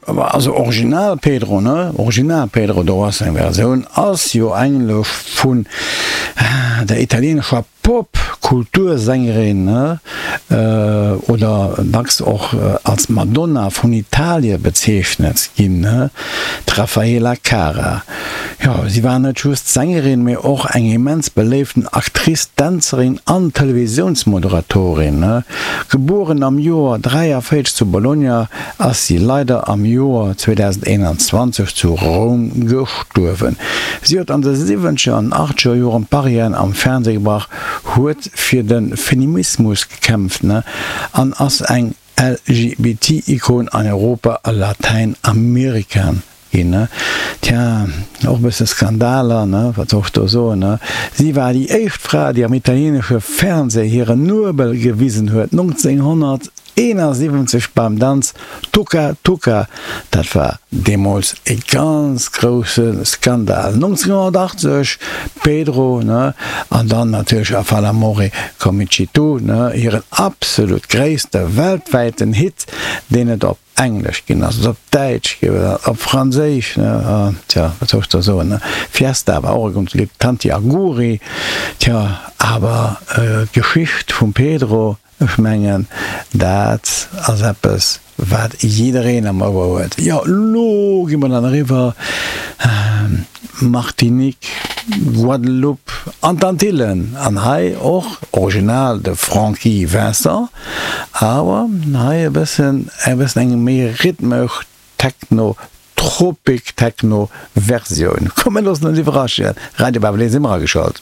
Also Original Pedro, ne? Original Pedro, do ass eng Versioun, ass jo eigentlech vun der italienescher Pop-Kultursängerin, ne? Oder dacks och als Madonna vun Italie bezeechnet ginn, ne? D'Raffaella Cara. Jo, si war net just Sängerin, mee och eng immens beléiften Actrice, Dänzerin an Televisiounsmoderatorin. Gebueren am Joer 43 zu Bologna, ass si leider am Joer 2021 zu Roum gestuerwen. Si huet an de siwwenzeger an achtzeger Joren d'Barrièren am Fernseh gebrach, huet fir de Feminismus gekämpft an ass eng LGBT-Ikon an Europa a Latäinamerika ginn, ne? Tja, och e bësse Skandaler, ne? Wat soll ech do soen, ne? Si war déi éischt Fra, déi am italienesche Fernseh hiren Nuebel gewisen huet, 1971 beim Danz Tuca Tuca. Dat war deemools e ganz grousse Skandal. 1980, Pedro, ne? An dann natierlech A fa l'amore come ci tu, ne? Hiren absolut gréisste weltwäiten Hit, deen et op Englesch ginn ass, op Däitsch ginn ass, op Franséisch, ne, tja, wat soll ech da soen, ne, Fiesta war och e ganz Lidd, Tanti Auguri, tja, awer d'Geschicht vum Pedro, ech mengen, dat ass eppes, wat jiddereen am Ouer huet. Jo, elo gi mer dann eriwwer Martinique, Guadeloupe an d'Antillen, an hei och original de Francky Vincent. Awer hei e bëssen e bëssen eng méi rhythmesch Techno, Tropic Techno Versioun. Komm mir loossen ons iwwerraschen. Radio Baabel 1 si mer ageschalt.